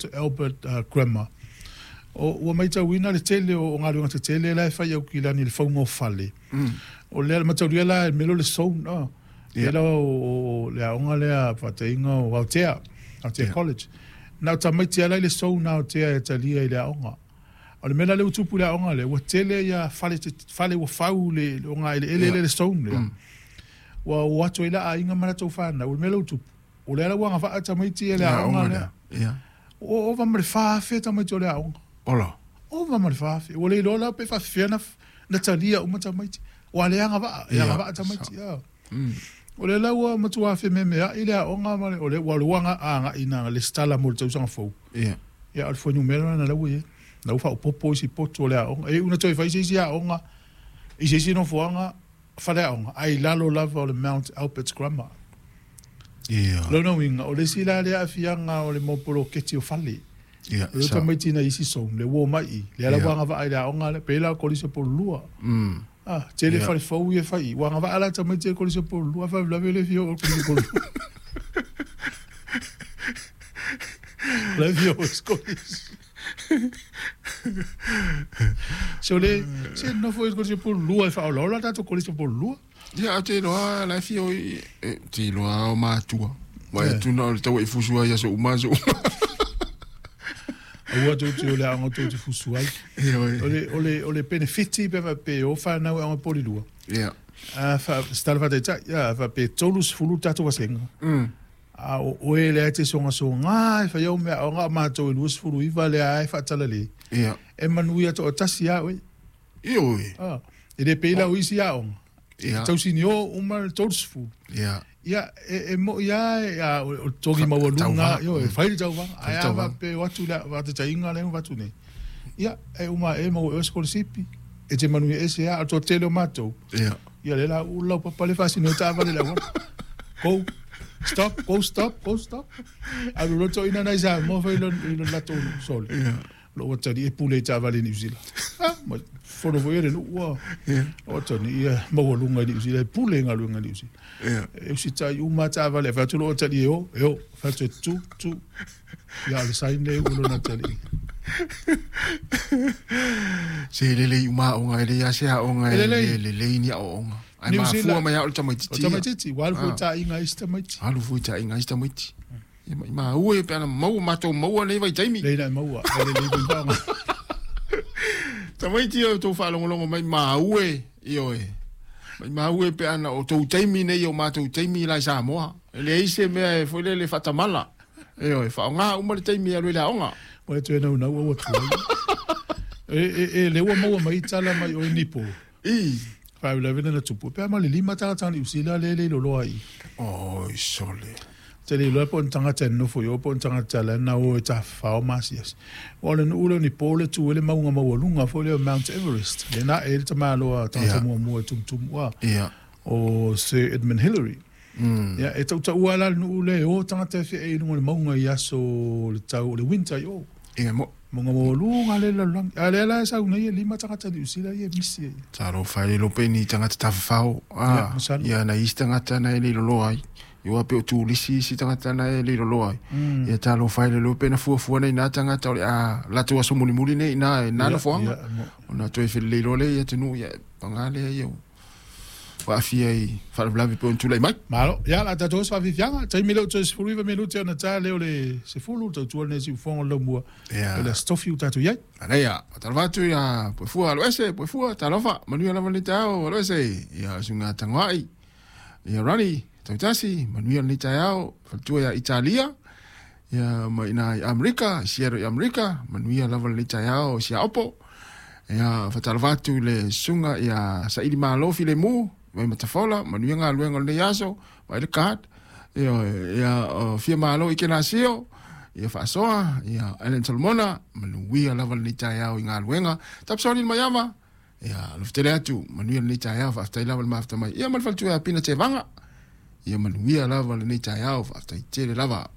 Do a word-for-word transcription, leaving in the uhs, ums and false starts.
Mount Albert uh, Grammar. O ua matauina le tele o galuega tetele la e fai Aukilani i le fauga o fale. O lea le mataulia la e mea lea o le zone, ah. Ia. Lea la o le aoga lea faataiga o Aotea, Aotea College. Na o tamaiti lava la i le zone a Aotea e talia i le aoga. O le mea la lea ua tupu i le aoga lea, ua tele ia fale, fale ua fau le, le ogaeleele lea le zone lea. Ua o atu ai la aiga ma latou fanau, o le mea la ua tupu, o lea la ua agavaa tamaiti i le aoga lea. Ia. O ova ma le fa afe tamaiti o le aoga. Ola. Ova ma le fa afe. Ua le iloa la pe faafefea na, na talia uma tamaiti. Ua le agavaa, e Ia. agavaa tamaiti. Ia. O lea la ua matua fememeai le aoga ma le, o le ua lua agai na lesitala mo le tausaga fou. Ia. Ia, o le fuainumera lena la ua i ai. La ua faaopoopo isi potu o le aoga. E iu ina toe fai se isi aoga i se isi nofoaga faleaoga, ae i lalo lava o le Mount Albert Grammar. Ia. Lona uiga, o le isi la lea aafiaga o le mau poloketi o fale. Ia. O le Sa. tamaiti na isi zone, le ua omai i, lea la Ia. ua agavaa i le aoga lea, pei la o Kolisi o Pololua. Mm. Ah, tele Ia. fale fou ia fai i, ua agavaa la tamaiti e Kolisi o Pololua, faalavelave le fia oo i le Kolisi o Pololua. La fia oo i le Kolisi. Se o le, se nofo i le Kolisi o Pololua e faaolaola tatou Kolisi o Pololua. Ia, te iloa la e fia o i e, te iloa o matua. Wa e Ia. tuna o le tau e fusu ai aso uma aso uma. Aua tou te o le aoga tou te fusu ai. Ia, oe. O le, o le, o le benefiti pe faapea o fanau e aoga polilua. Ia. A fa, se tala faataitai, ia, faapea tolu sefulu tatou vasega. Mm. A o oe lea e te sogasoga e fai au mea aoga o matou e luasefulu iva lea e faatalale. Ia. E manuia toatasi a oe. Ia oe. Ah, e le pei la o isi aoga. Ia. Tausini o uma le tolu sefulu. Ia. Ia, e, e moi a, e, a, o o le togi maualuga, tauvaga. io, e fai le tauvaga. Ae a tauvaga. faapea o atu le faataitaiga lea ma atu nei. Ia, e uma e maua e oe sikolasipi. E te manuia ese a, o le toatele o matou. Ia. Ia le la ulu lau papa le faasino i taavale le auala. Go, stop, go, stop, go, stop. Alu loa toeaina nai Samoa fai i lona i lona latou sole. Ia. Lo ua tali e pule i taavale i Niu Sila. Ah, ma fono foi e le nuu ua. Ia. O tani ia maualuga i Niu Sila e pule i galuega i Niu Sila. Ia. E usitai uma taavale, fai atu loo tali e o, e o, fai atu e tu, tu. Ia o le sign le ua lona tali. Se lelei uma aoga e leai a se aoga E e lelei. le lelei ni aoaoga. Ai Niu mafua Sila. mai ao le O tamaitiiti. tamaitiiti, ua alu foi Ah. taaiga isi tamaiti. Alu foi taaiga isi tamaiti. Ia ma maua e pe ana maua matou maua nei vaitaimi. Lei na e maua, e lelei foi faaaoga. Tamaiti o tou faalogologo mai maue, ioe. Mai maue pe ana o tou taimi nei o matou taimi la i Samoa. E leai se mea e foi lele faatamala. Ioe, faaaoga uma le taimi e alu i le aoga. Ua toe naunau au atu ai. E, e, e le ua maua mai tala mai o nipo. I. Faalavelave na tupu. Pe a ma le lima tagata Niu Sila le le loloa i. Oi sole. Te le iloa po o ni tagata e nonofo i o po o ni tagata la na o e tafafao masiasi. Ua o le nuu lea o Nipo le tu ai le mauga maualuga foi lea o Mount Everest. Le na e le tamāloa tagata Ia. muamua e tumutumu a Ia. o Sir Edmund Hillary. Mm. Ia, e tautaua la le nuu lea e o tagata e feʻe i luga o le mauga i aso le tau o le winter i o. Ia mo. Mauga maualuga le lalolagi. A lea la e sau nei e lima tagata Niu Sila ia e misi ai. Talofa e le iloa pe ni tagata tafafao. Ia, Ah, masalo. ia na isi tagata na e le loloa ai. Ia pe o turisi isi tagata na e le loloa ai. Mm. Ia talofa e le iloa pe na fuafua nei nā tagata o le a latou aso mulimuli nei ina e nā Ia, nofoaga. ia, mo- Ona toe felelei loa lea ia atunuu ia paga lea ia ua aafia i faalavelave pe ona tulai mai. Malo, ia la tatou oso faafiafiaga, taimi lea ua toe sefulu iva minute ona ta lea o le sefulu, tautua lenei siufoga o le laumua. Ia. O le aso tofi ua tatou i ai. Anaia, talofa atu ia Poefua aloese, Poefua, talofa, manuia lava lenei taeao aloese, ia suiga tagoai, ia Rani, tautasi, manuia lenei taeao, faletua ia Italia, ia ma ina i Amerika, Seattle i Amerika, manuia lava lenei taeao i Siaopo, ia fatalofa atu i le susuga ia Saili Malo Filemu, mai Matafola, manuia galuega o lenei aso, mai le card, ia, ia o fia malo i Kenasio, ia faasoa, ia Ellen Solomona, manuia lava lenei taeao i galuega, tapisoni le maiava, ia alofetele atu, manuia lenei taeao, faafetai lava le mafuta mai, ia ma le faletua ia Pina Tevaga, ia manuia lava lenei taeao, faafetai tele lava.